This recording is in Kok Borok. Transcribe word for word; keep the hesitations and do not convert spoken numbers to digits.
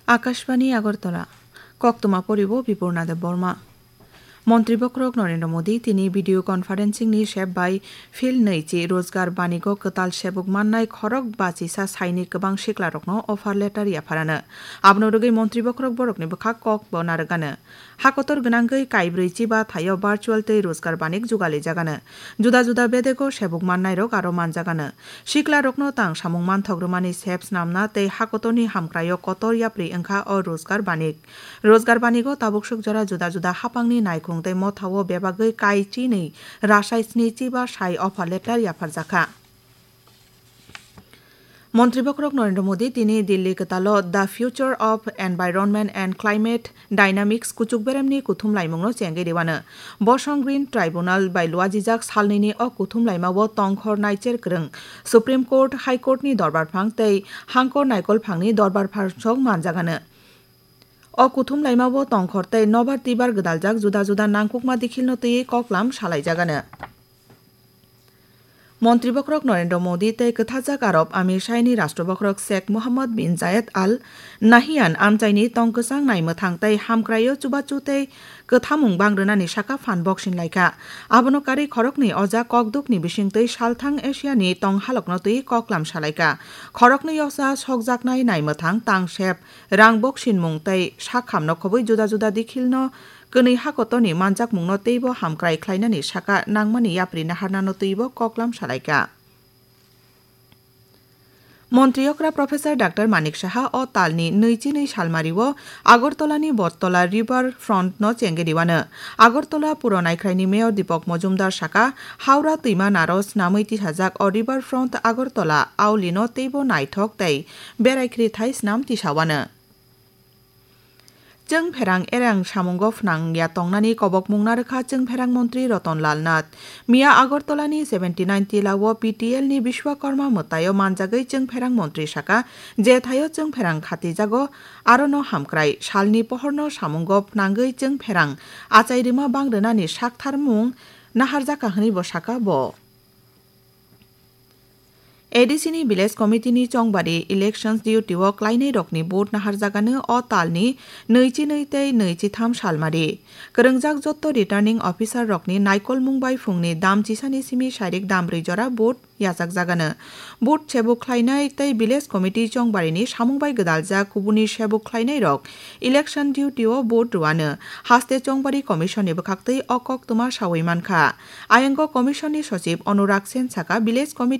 Akashbani Agartala. Koktwma poribo Bipurna Debbarma. Montri Bokhorok Narendra Modi tini video conferencing ni sep bai Phil nwi chi Rozgar Banigo kwtal sebuk mannai khorok bachisa saini kwbang siklarokno offer letter yapharano. Abono rwgwi Montri Bokhorok borokni bwkhak kok bo narwgano. Hakotor gwnangwi kaibrwi chiba thaio virtual tei Rozgar Banik jugalijagano. Juda juda bedego sebuk mannairok aro manjagano. Siklarokno tang samung manthok rwmani sep snamna tei hakotorni hamkraio kotor yapri wngkha o Rozgar Banik. Rozgar Banigo tabuksuk jora juda juda haphangni naikhung tei mothao bebagwi kai chinwi rasai sni chiba sai offer letter yapharjakha. Montri Bokhorok Narendra Modi tini Delhi kwtalo The Future of Environment and Climate Dynamics kuchuk beremni kuthum laimungno chengwi rwano. Bosong Green Tribunal bai luajijak salnwini o kuthum laimao tongkhor naicher kwrwng Supreme Court, High Court ni dorbar phang tei hangkor naikol phangni dorbar phangsok manjagano. O kuthum laimao tongkhor tei nobar twibar gwdaljak juda juda nangkukma dikhilno twiwi koklam salaijagano. Montri Bokhorok Narendra Modi tei kwthajak Arab Amir Shaini Rashtra Bokhorok Sheikh Mohammed bin Zayed Al Nahyan amchaini tong kwchang naimwthang tei hamkraio chubachu tei kwthamung bang rwnani saka phan boksin laikha. Abono karwi khoroknwi oja kokdukni bisingtwi salthang Asiani tong halokno twi koklam salaikha. Khoroknwi osa sokjaknai naimwthang tangsep rang boksinmung tei sakhamno khobwi juda juda dikhilno kwnwi hakotorni manjakmungno teibo hamkrai khlainani saka nangmani yapri naharnano twibo koklam salaikha. Montri okra Professor Doctor Manik Saha o talni nwi chinwi salmario Agartala ni Bottola River Front no chengwi riwano. Agartala puro naikhraini Mayor Deepak Majumdar saka, Howrah twima naro snamwi tisajak o River Front Agartala auli no teibo naithok tei berai khri thai snam tisawano. Chwngpherang erang samungo phnang ya tongnani kobokmung narwkha Chwngpherang Montri Roton Lal Nath. Miya Agartala ni seventy nine Tila o P T L ni Bishwakarma mwtaio manjagwi Chwngpherang Montri saka, je thaio Chwngpherang khatijago, arono hamkrai salni pohorno samungo phnangwi Chwngpherang achai rwma bang rwnani saktharmung naharjakha hwnwi bo saka bo. A D C ni Village Committee ni chongbari elections duty o klainai rokni vote naharjagano o talni nwi chi nwi tei nwi chi tham salmari. Kwrwngjak jotto returning officer rokni naikolmung bai phungni dam chisani simi sairik dam brwi jora vote yachakjagano. Vote sebuk khlainai tei Village Committee chongbarini samung bai gwdaljak kubuni sebuk khlainai rok election duty o vote rwano. Haste chongbari commission ni bwkhaktwi o koktwma sawi mankha. Ayango commission ni sochib Anurag Sen saka, Village Committee